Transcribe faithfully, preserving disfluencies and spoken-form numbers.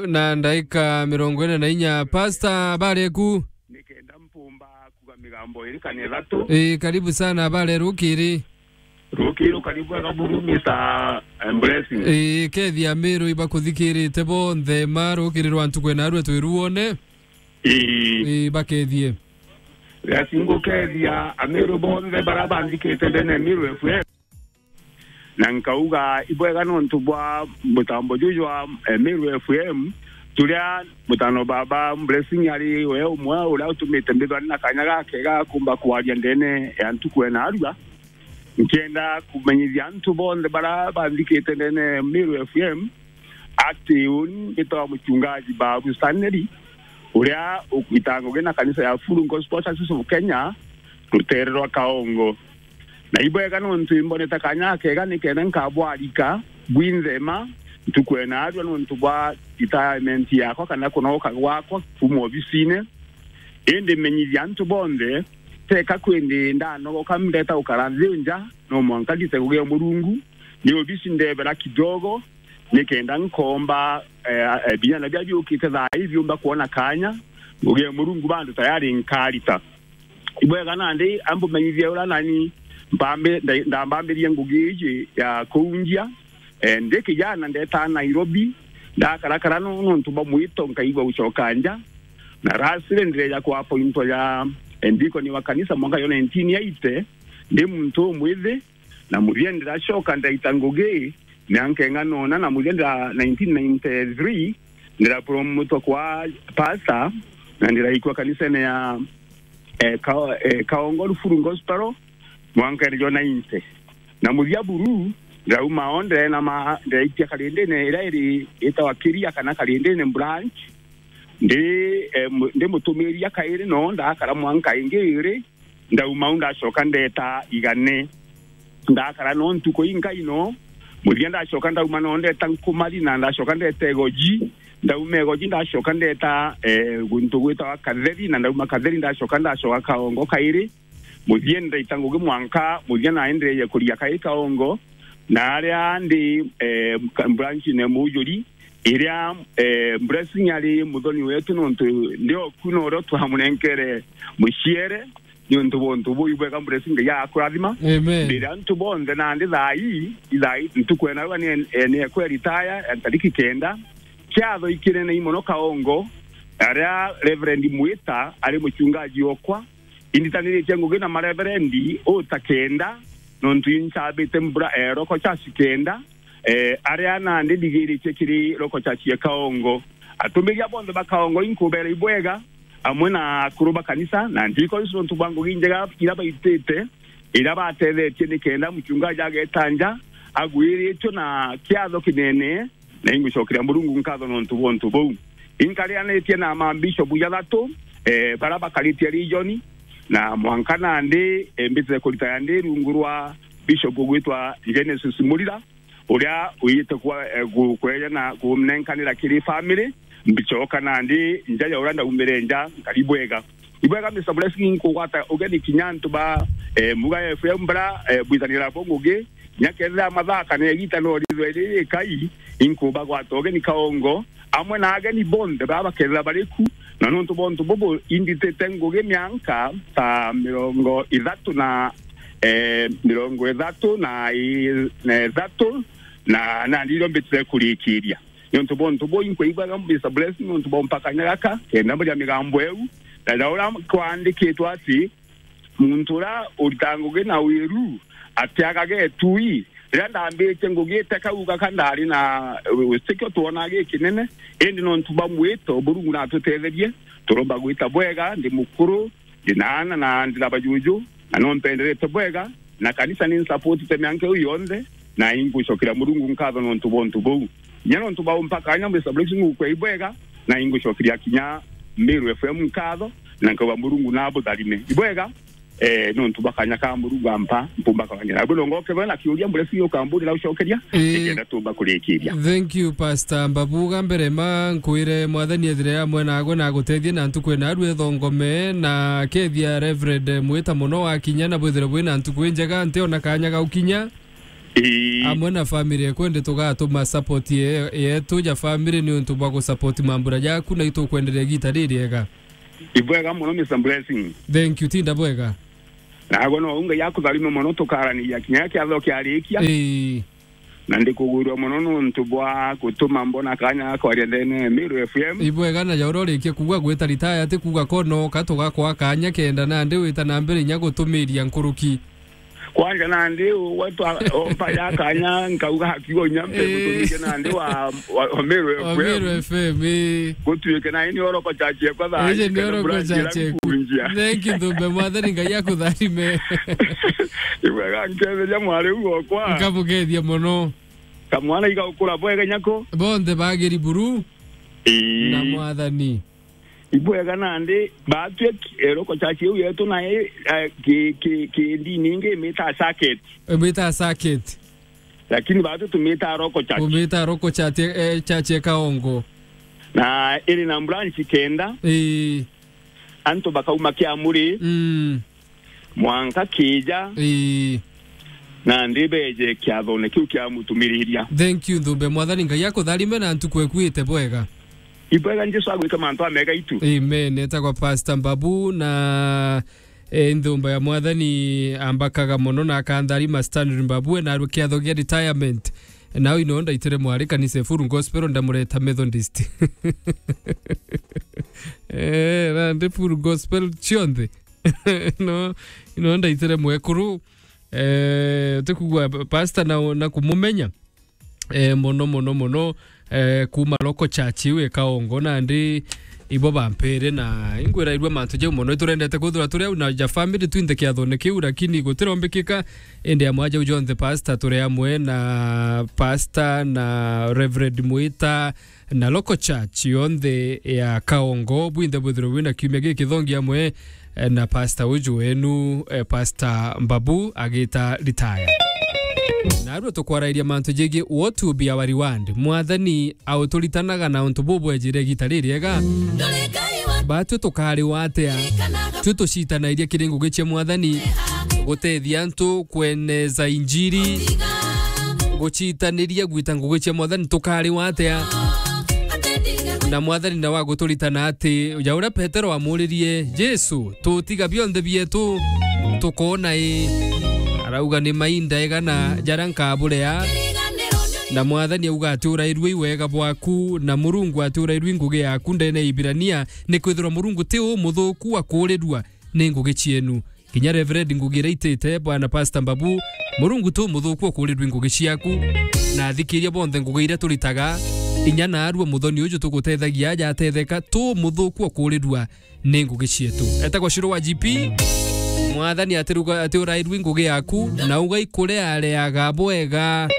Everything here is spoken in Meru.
Na ndaika mirongo ina na inya. Pastor, habari eku? Nikenda mpumba kuga migambo iri kana ithatu. Ii, karibu sana, habari rukiri? Rukiri, karibu ega buru, Mister, eh, Blessing. Ii, kethia Amiru ibakuthikirite bonthe, ma rukiri rwa ntuku ena rwe twiruone. Ii. Ii, bakethie. Blessing, ngukethia Amiru bonthe bara banthikite ndene Miru F M. Na nkauga, ibwega nontu bwa mutambo juju jwa, eh, Meru F M, turia mutano baba Blessing ari we umwe uria utumite mbithwa na kanya gakega kumba kwaria ndene ya ntuku ena arua. Nkienda kumenyithia antu bonthe bara banthikite ndene Meru F M ati uni mbitwa muchungaji Babu Stanley, uria ukwita ngugi na kanisa ya Full Gospel Churches of Kenya, rutere rwa Kaongo. Na ibwega nontu imbonete kanya kega nikenda nkabwarika bwinthema ntuku ena arua nontu bwa retirement yakwa kana kunogoka gwakwa kuma obisine. Indi menyithia antu bonthe, teka kwindi ndanogoka ndeta gukara nthi nja, no mwanka ndite ngugi ya Murungu. Ni obisi ndebera kidogo, nikenda nkomba, eh, eh, biana bia biukite thaa ii biumba kwona kanya, ngugi ya Murungu bandu tayari nkarita. Ibwega nandi ambumenyithie uria nani mpambi-, nda-, ndambambirie ngugi iji ya kuunjia. Eh, ndi kijana ndetaa Nairobi, ndakarakara no-, nontu bwa mwito nkaigua gucoka nja. Na rasire ndireja kuapointwa ja, eh, ndikoni wa kanisa mwaka yo nineteen eighty, ndi muntu umwithi, na muthia ndiracoka ndaita ngugi mianka ing'ana una, na muthia ndira nineteen ninety-three, ndirapromotwa kwa pastor, na ndiraikwa kanisene ya, eh, Ka-, eh, Kaongo Rufuru Gospel, mwanka iri jo ninety. Na muthia buru, ndirauma o ndire na ma-, ndiraitia karindine iria iri itawa Kiria kana karindine branch, ndi, eh, mu-, ndi mutumiria kairi no ndakara mwanka ingi iri, ndauma au ndacoka ndeta Igane. Ndakara no ntuku inkai no, muthia ndacoka ndauma no ndeta Nkumari na ndacoka ndeta Igoji. Ndauma Igoji ndacoka ndeta, eh, guntu gwitawa Katheri, na ndauma Katheri ndacoka ndacoka Kaongo kairi. Muthia ndaita ngugi mwanka, muthia naendereire kuria kairi Kaongo, na aria ndi, eh, ka-, branch ne Mujuri, iria, eh, Blessing ari muthoni wetu nontu ndi oku norio twamunenkere muciere, niuntu bwa untu buu ibwega Blessing Ngai agakurathima. Amen. Ndira antu bonthe nandi thaa ii, ithaa ii ntuku ena rua ni, eh, ni ekwa retire ya ntariki kenda. Kiatho ikinene mono Kaongo, aria Reverend Mwita ari muchungaji okwa, inditaniritie ngugi na mareverendi uta kenda, nontu inchabite mbura, eh, roko church kenda, eh, aria nandi ndigiritie kiri roko church ya Kaongo. Atumiria bonthe ba Kaongo inkubera ibwega, amwe na akuru ba kanisa, na ndiko isu nontu bwa ngugi njega iria baitite, iria batethetie nikenda muchungaji ageta nja, agwiritwe na kiatho kinene, na ingucokeria Murungu nkatho nontu bwa untu buu. Inkarianitie na mambishop jathatu, eh, bara bakaritie region, na mwanka nandi, eh, mbitire kuritaya ndi rungu rwa bishop ugwitwa Genesis Murira, uria uyite kwa, eh, gu-, kweja na kunenkanira kiri family, mbicoka nandi nja ya uria ndaumire nja, nkari bwega. Ibwega, Mister Blessing, nkugwata ugeni kinya antu ba, eh, Muga F M bara, eh, bwithanira bo ngugi, kinya kethira mathaa kana igita no rithwe riri ikai, inkubagwata ugeni Kaongo, amwe na ageni bonthe bara bakethira bari ku, na nontu bwa untu bubu inditite ngugi mianka ta mirongo ithatu na, eh, mirongo ithatu na i-, na ithatu, na, na nandi irio mbitire kurikiria. Niuntu bwa untu buu, inkwigua Mister Blessing niuntu bwa mpakania gaka, kenda mburia migambo eu, na ja uria kwandikitwe ati, muntu uria uritaga ngugi na wiru atiagaga itui. Riria ndambitie ngugi itekauga ka ndari na, eh, utikio twona gikinene, indi niuntu bwa mwito, Murungu natutetherie, turomba gwita bwega, ndi mukuru, ndi na ana na ndi na bajuju, na no mpenderete bwega, na kanisa ni nsapotite mianka iu yonthe, na ingucokeria Murungu nkatho nontu bwa untu buu. Kinya nontu bwa umpaka kanya, Mister Blessing, ngukwa ibwega, na ingucokeria kinya Meru F M nkatho, na nkauga Murungu nabutharime. Ibwega, eh, nontu bwa kanya ka Murungu ampa, mpumba kawanyira. Abwe longo kebe na kiuria Blessing ukamburi na ucokeria, Ii. Nikenda tumba kurikiria. Thank you, Pastor Mbabuga. Mbere ma nkwire Mwathani ethire amwe nagwe na agutethie na ntuku ena arue thongome, na kethia Reverend Mwita mono wakinya na bwithire bwina ntuku injega, ntiona kanya ga ukinya. Ii. Amwe na family ekwende tugatuma support ye-, yetu ja family ni untu bwa gusupport mambura jaku na itukwenderea igita ririega. Ibwega muno, Mister Blessing. Thank you, tinda bwega. Nagwe no Ngai akutharime muno, tukaraniria kinya kiatho kiarikia. Ii. Na ndikugwirua muno nuntu bwa gutuma mbona kanya ga kwaria ndene ya Meru F M. Ibwega na jaura urikie kuuga gwita ritaya, ti kuuga kono ka tugakwa kanya kenda nandi wita na mbere inya gutumiria nkuruki. Kwanja nandi ugwe twa, ompa ya kanya nkauga akiuga inya mpe Ii. gutumiria nandi wa, wa, wa Meru Wa F M. Meru F M, ii. Gutuike na ini oroko chachi ekwa thaa Ije ici ni kana oroko mbura njira chachi eku. nkunjia. Thank you, Thumbe. Mwathani Ngai akutharime. Ibwega nketheria mwari u okwa. Nkamugethia muno. Kamwana igakura bwega nyako. Bonthe bagiri buru Ii. na Mwathani. Ibwega nandi batue ki-, eroko chachi iu yetu na i, eh, ki, ki, ki ndini ingi imita circuit. Imita circuit. Lakini batue tumita roko chachi. Umita roko chachi, eh, chachi e Kaongo. Na iri na branch kenda. Ii. Antu bakauma Kiamuri. Mm. Mwanka kija. Ii. Nandi beje kiathone kiu kia mutumiriria. Thank you, Thumbe. Mwathani Ngai akutharime na ntuku eku ite bwega. Ibwega Jesu agwike mantu amega itu. Amen. Etagwa Pastor Mbabu na, eh, nthumba ya Mwathani ambakaga mono na akantharima Stanley Mbabu, na arwe kiatho gia retirement. Nao ino ndaitire mwari kanisa Full Gospel ndamureta Methodist. Eh, na ndi Full Gospel cionthe. No, ino ndaitire mwekuru. Eh, utikugua pastor na, na kumumenya. Eh, mono, mono, mono, eh, kuma local church iu e Kaongo, nandi ibo bampere na ingwirairua mantu jau mono. Iturendete kwithirwa turi au na ja family twinthe kiathone kiu, lakini gutirombikika. Indi amwe jau jonthe pastor turi amwe na pastor na Reverend Mwita, na local church yonthe ya Kaongo, bwinthe bwithirwe bwina kiumia gikithongi amwe, eh, na pastor uju wenu, eh, Pastor Mbabu agita retire. Na arua tukwarairia mantu jegie what will be our reward. Mwathani auturitanaga na untu bubwejire igita ririega. Batwi tukariwa atia? Twi tucitanairia kiri ngugi cia Mwathani, gutethia antu kweneza injiri, gucitaniria gwita ngugi cia Mwathani, tukariwa atia? Na Mwathani nawe aguturitana ati, ja uria Petero amuririe, Jesu, tutiga bionthe bietu, tukoona i? Arauga, ni mainda igana jaria nkaburea? Na Mwathani auga ati, urairue i wega bwaku, na Murungu ati, urairue i ngugi yaku ndene ya Ibirania, nikwithirwa Murungu ti umuthuku wa kuurirua ni ngugi cienu. Kinya Reverend ngugi iria itite, bwana Pastor Mbabu, Murungu ti umuthuku wa kuurirua i ngugi ciaku. Na athikiria bonthe ngugi iria turitaga, inya naarua muthoni uju tugutethagia aja atetheka, ti umuthuku wa kuurirua ni ngugi cietu. Etagwa Shiro wa G P. Mwathani atiruga ati urairue i ngugi yaku, na ugaikureareaga bwega.